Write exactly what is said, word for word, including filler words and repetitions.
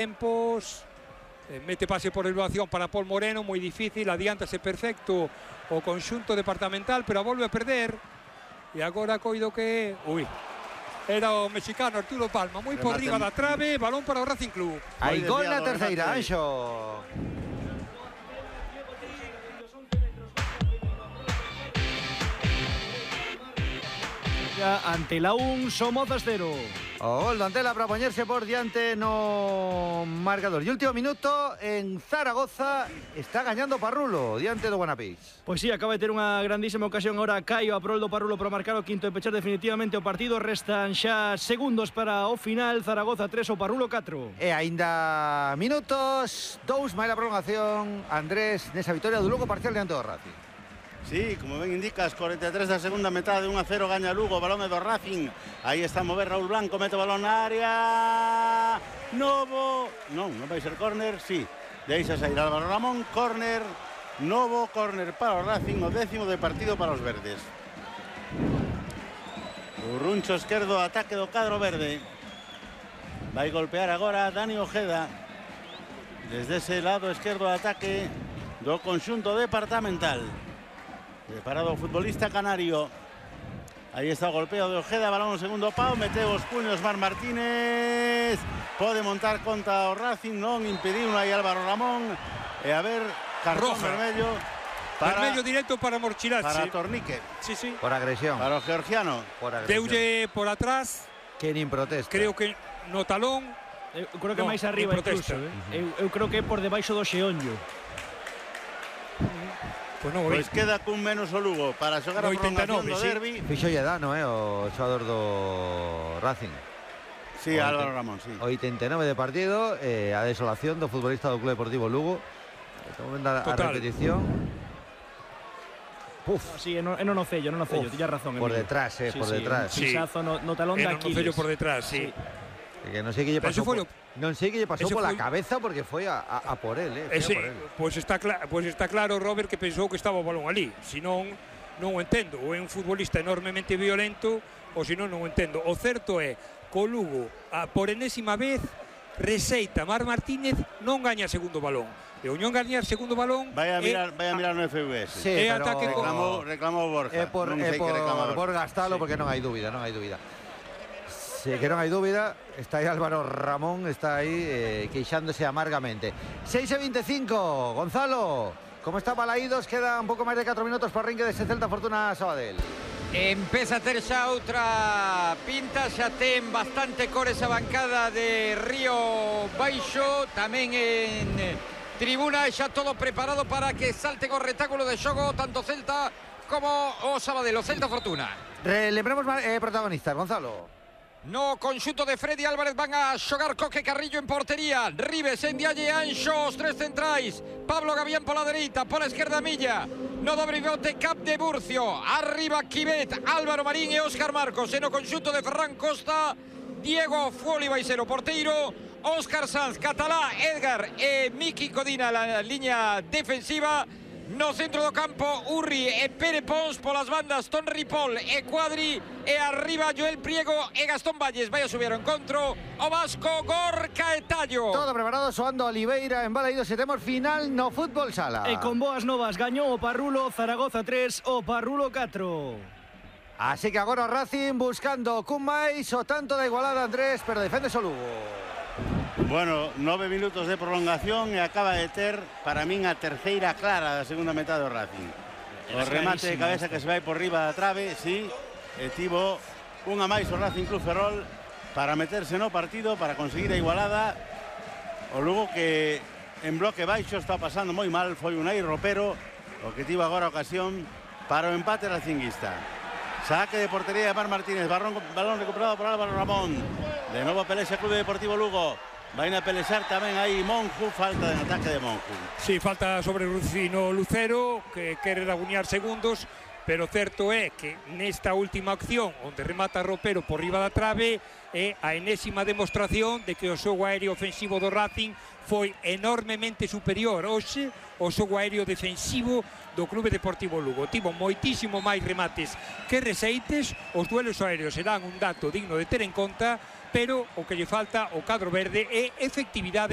Tempos, eh, mete pase por elevación para Paul Moreno, moi difícil, adiántase perfecto o conxunto departamental, pero a volve a perder. E agora coido que... Ui, era o mexicano Arturo Palma, moi por riba da trave, balón para o Racing Club. Hai gol na terceira, Anxo. Ante la un, Somozas cero. O gol do Antela para poñerse por diante no marcador. E último minuto en Zaragoza, está gañando Parrulo diante do Guanapís. Pois sí, acaba de ter unha grandísima ocasión agora Caio a prol do Parrulo para marcar o quinto e pechar definitivamente o partido. Restan xa segundos para o final. Zaragoza tres, o Parrulo catro. E aínda minutos, dous máis a prolongación. Andrés, nesa vitória do Lugo parcial diante do Racing. Sí, como ben indicas, cuarenta e tres da segunda metade, un a cero gaña Lugo, balón é do Racing. Aí está a mover Raúl Blanco, mete o balón na área. Novo, non, non vai ser córner, sí. Deixa sair Álvaro Ramón, córner, novo córner para o Racing, o décimo de partido para os verdes. O runcho esquerdo, ataque do cadro verde. Vai golpear agora Dani Ojeda. Desde ese lado esquerdo de ataque do conxunto departamental. Preparado o futbolista canario. Aí está o golpeo de Ojeda, balón no segundo pau, meteu os puños Mar Martínez. Pode montar contra o Racing, non impediu aí Álvaro Ramón. E a ver, cartón Roja. vermello para, vermello directo para Morchirazzi. para Tornique. Sí, sí. Por agresión. Para o georgiano. Por agresión. Deulle por atrás. Que nin protesta. Creo que no talón. Eu creo que no, máis arriba protesta. incluso, eh? uh -huh. eu, eu creo que é por debaixo do xeonllo. Pois non, Pois queda cun menos o Lugo para xogar a prolongación do derbi. Fixolle dano, eh, o xogador do Racing. Sí, Álvaro Ramón, sí. oitenta e nove de partido, eh, a desolación do futbolista do Club Deportivo Lugo. Estamos vendo a, a repetición. Puf. No, sí, no, no nocello, no nocello, tiña razón. Por detrás, eh, sí, por sí, detrás. Un pisazo no, no talón de Aquiles. No por detrás, sí. sí. Que non sei que lle pasou por, non sei que lle pasou pola foi... cabeza porque foi a, a, a por él, eh, Ese, por él. Pois está, cla pues está claro, Robert, que pensou que estaba o balón ali. Si non, non o entendo. Ou é un futbolista enormemente violento, ou si non, non o entendo. O certo é que o Lugo, a, por enésima vez, receita Mar Martínez, non gaña segundo balón. E o non gañar segundo balón... Vai a mirar, vai a mirar no F V S. Sí, é pero ataque con... reclamou, reclamou Borja. É por, non é sei por, que reclama por gastalo, sí. Porque non hai dúbida, non hai dúbida. Sí, que non hai dúbida, está aí Álvaro Ramón, está aí eh, queixándose amargamente. seis e veinticinco, Gonzalo, como está Balaídos, queda un pouco máis de catro minutos para o ringue dese Celta Fortuna Sabadell. Empeza a ter xa outra pinta, xa ten bastante cor esa bancada de Río Baixo, tamén en tribuna, xa todo preparado para que salte o retáculo de xogo, tanto Celta como o Sabadell, o Celta Fortuna. Lembremos eh, protagonistas, Gonzalo. No conxunto de Freddy Álvarez van a xogar Coque Carrillo en portería, Ribes, Ndiaye, Anxo, os tres centrais, Pablo Gavián pola dereita, pola esquerda Milla, no dobre pivote Cap de Burcio, arriba Quimet, Álvaro Marín e Óscar Marcos, e no conxunto de Ferran Costa, Diego Fuoli vai ser o porteiro, Óscar Sanz, Catalá, Edgar e Miki Codina la liña defensiva. No centro do campo, Urri e Pere Pons, polas bandas Ton Ripoll e Cuadri, e arriba Joel Priego e Gastón Valles. Vai a subir ao encontro o vasco Gorka e Tallo. Todo preparado, soando Oliveira en Balaídos, e temos final no fútbol sala. E con boas novas, gañou o Parrulo, Zaragoza tres, o Parrulo catro. Así que agora o Racing buscando cun máis, o tanto da igualada, Andrés, pero defende o Lugo. Bueno, nove minutos de prolongación e acaba de ter, para min, a terceira clara da segunda metade do Racing. O remate de cabeza que se vai por riba da trave, sí, e tivo unha máis o Racing Club Ferrol para meterse no partido, para conseguir a igualada. O Lugo que en bloque baixo está pasando moi mal, foi un aí ropero, o que tivo agora a ocasión para o empate racinguista. Saque de portería de Mar Martínez, balón, balón recuperado por Álvaro Ramón. De novo pelexa Clube Deportivo Lugo. Vai a pelexar tamén aí Monju, falta de ataque de Monju. Sí, falta sobre Rufino Lucero, que quere rabuñar segundos, pero certo é que nesta última acción, onde remata Ropero por riba da trave, é a enésima demostración de que o xogo aéreo ofensivo do Racing foi enormemente superior hoxe ao xogo aéreo defensivo do Clube Deportivo Lugo. Tivo moitísimo máis remates que receites. Os duelos aéreos serán un dato digno de ter en conta, pero o que lle falta o cadro verde é efectividade